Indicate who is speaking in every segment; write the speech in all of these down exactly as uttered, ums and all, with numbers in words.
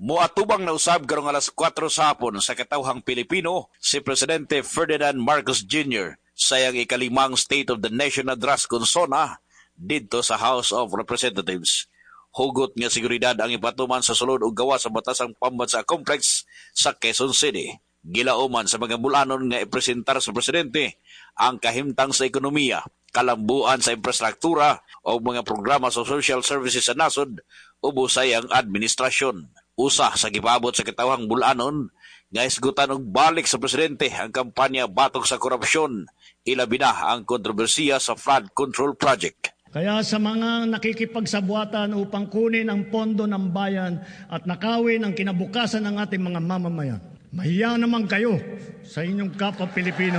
Speaker 1: Muatubang na usab karong alas kwatro sa hapon sa katawhang Pilipino si Presidente Ferdinand Marcos Junior sa iyang ikalimang State of the Nation Address kon SONA didto sa House of Representatives. Hugot nga seguridad ang ipatuman sa sulod ug gawas sa Batasang Pambansa Complex sa Quezon City. Gilauman sa mga bulanon nga ipresentar sa presidente ang kahimtang sa ekonomiya, kalambuan sa infrastruktura o mga programa sa social services sa nasod ubos sa iyang administrasyon. Usa sa gipaabot sa katawhang bulanon nga hisgutan og balik sa presidente ang kampanya batok sa korupsyon, ilabi na ang kontrobersiya sa flood control project.
Speaker 2: Kaya sa mga nakikipagsabuatan upang kunin ang pondo ng bayan at nakawin ang kinabukasan ng ating mga mamamayan, mahiya naman kayo sa inyong kapwa Pilipino.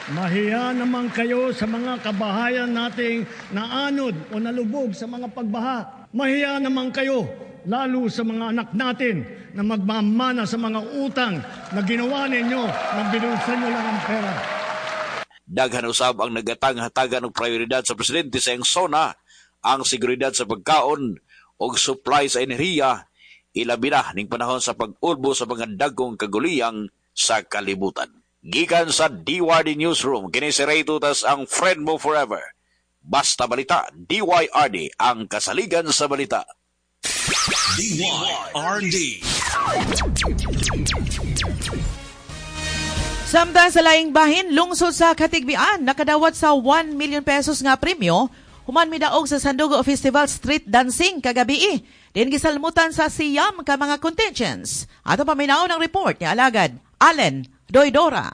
Speaker 2: Mahiya naman kayo sa mga kabahayan nating naanod o nalubog sa mga pagbaha. Mahiya naman kayo lalo sa mga anak natin na magmamana sa mga utang na ginawa ninyo na binulsan nyo lang ang pera.
Speaker 1: Daghan usab ang nagatang hatagan og prioridad sa presidente sa iyang SONA, ang seguridad sa pagkaon og supply sa enerhiya, ilabi na ning panahon sa pag-ulbo sa mga dagkong kaguliyang sa kalibutan. Gikan sa D Y R D Newsroom, kini si Ray Tutas, ang friend mo forever. Basta Balita, D Y R D, ang kasaligan sa balita.
Speaker 3: D Y R D.
Speaker 4: Samtang sa laing bahin, lungsod sa Katigbian, nakadawat sa one million pesos nga premyo, human midaog sa Sandugo Festival Street Dancing kagabi. Din gisalmutan sa siyam ka mga contingents. Ato paminaw ng report ni Alagad Allen Doydora.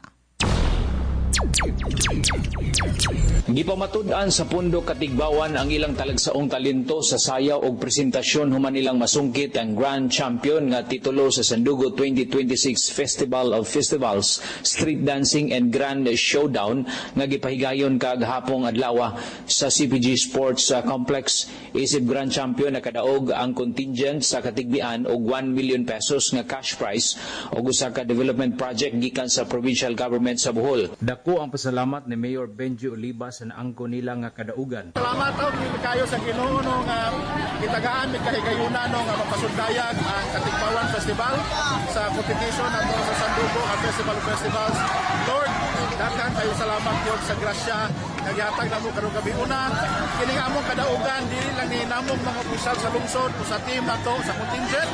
Speaker 5: Gipamatud-an sa Pundo Katigbawan ang ilang talagsaong talento sa sayaw og presentasyon human nilang masungkit ang Grand Champion nga titulo sa Sandugo twenty twenty-six Festival of Festivals Street Dancing and Grand Showdown nga gipahigayon kagahapong adlaw sa C P G Sports Complex. Isip Grand Champion nakadaog ang contingent sa Katigbian og one million pesos nga cash prize og usa ka development project gikan sa provincial government sa Bohol. Dako ang pasalamat ni Mayor Benji Oliva sa naangko nila nga kadaugan.
Speaker 6: Salamat og kayo sa Ginoo no nga gitagaan mi kahigayunan no nga mapasundayag ang Katigbawan Festival sa competition nato sa Sandugo nga Festival of Festivals. Lord, daghan kayo salamat gyud sa grasya nga gihatag namo karong gabi. Una, kini among kadaugan dili lang ni namong mga opisyal sa lungsod o sa team nato sa contingent,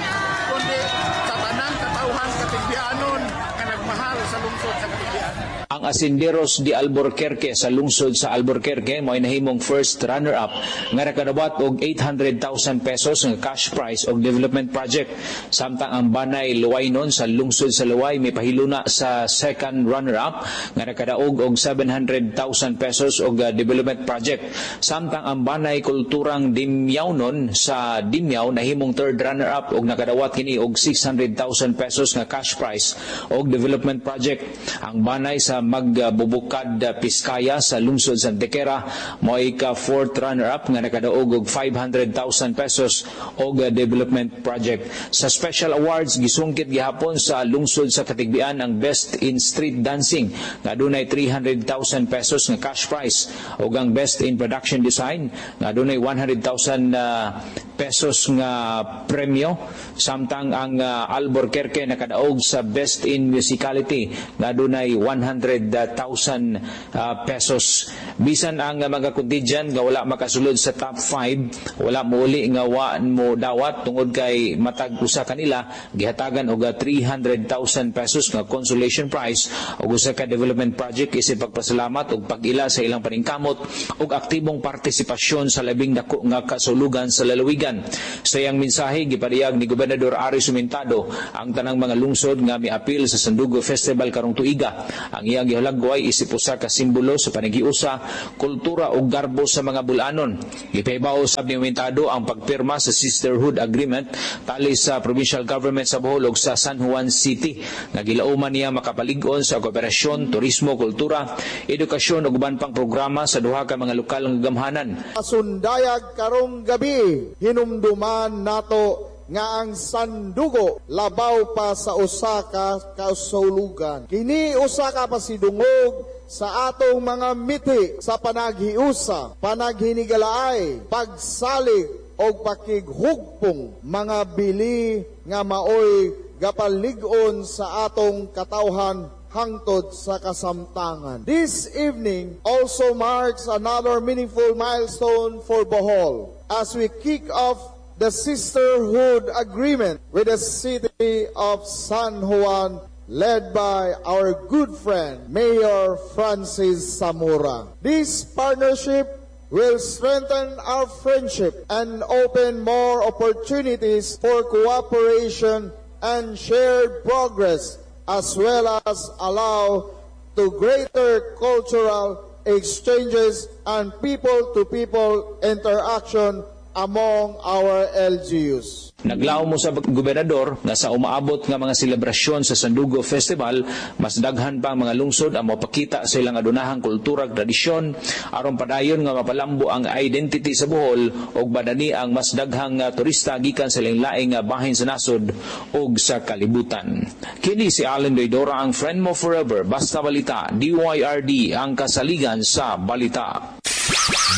Speaker 6: kundi sa tanang katawhan Katigbianon nga nagmahal sa lungsod sa Katigbian.
Speaker 5: Ang Asinderos de Alburquerque sa lungsod sa Alburquerque mo'y nahimong first runner-up nga nakadawat og eight hundred thousand pesos nga cash prize og development project. Samtang ang Banay Luwaynon sa lungsod sa Luway may pahiluna sa second runner-up nga nakadaog og seven hundred thousand pesos og development project. Samtang ang Banay Kulturang Dimyawnon sa Dimyaw nahimong third runner-up og nakadawat kini og six hundred thousand pesos nga cash prize og development project. Ang Banay sa Magbubukad Piskaya sa lungsod sa Antequera mo'y ka fourth runner-up nga nakadaog og five hundred thousand pesos og development project. Sa special awards gisungkit gihapon sa lungsod sa Katigbian ang Best in Street Dancing nga adunay three hundred thousand pesos nga cash prize ug ang Best in Production Design nga adunay one hundred thousand uh, pesos nga premyo. Samtang ang uh, Alburquerque nakadaog sa Best in Musicality nga adunay one hundred thousand uh, pesos. Bisan ang uh, mga contingent nga wala makasulod sa top five, wala mouli nga wa mo dawat tungod kay matag usa kanila gihatagan og three hundred thousand pesos nga consolation prize og usa ka development project isip pagpasalamat og pag-ila sa ilang paningkamot og aktibong partisipasyon sa labing dako nga kasulugan sa lalawigan. Sa iyang mensahe gipadayag ni Gobernador Ari Sumentado ang tanang mga lungsod nga miapil sa Sandugo Festival karong tuiga. Ang iyang gihulagway isip usa ka simbolo sa panaghiusa, kultura ug garbo sa mga Bulanon. Gipahibaw usab ni Sumentado ang pagpirma sa Sisterhood Agreement tali sa provincial government sa Bohol ug sa San Juan City nga gilauman niya makapalig-on sa kooperasyon, turismo, kultura, edukasyon ug uban pang programa sa duha ka mga lokal nga gamhanan.
Speaker 7: Sundayag karong gabi, hinumduman nato nga ang Sandugo labaw pa sa usa ka kausulugan. Kini usa ka pasidungog sa atong mga miti sa panaghiusa, panaghinigalaay, pagsalig og pakighugpong, mga bili nga maoy gapalig-on sa atong katawhan hangtod sa kasamtangan. This evening also marks another meaningful milestone for Bohol as we kick off the sisterhood agreement with the city of San Juan, led by our good friend, Mayor Francis Zamora. This partnership will strengthen our friendship and open more opportunities for cooperation and shared progress, as well as allow to greater cultural exchanges and people-to-people interaction among our L G Us.
Speaker 5: Naglaom sa gobernador nga sa umaabot nga mga selebrasyon sa Sandugo Festival, mas daghan pa ang mga lungsod ang mapakita sa ilang adunahang kultura ug tradisyon aron padayon nga mapalambo ang identity sa Bohol ug madani ang mas daghang nga turista gikan sa laing-laing nga bahin sa nasod ug sa kalibutan. Kini si Allen Doydora, ang friend mo forever. Basta balita, D Y R D, ang kasaligan sa balita.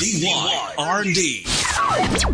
Speaker 3: D Y R D.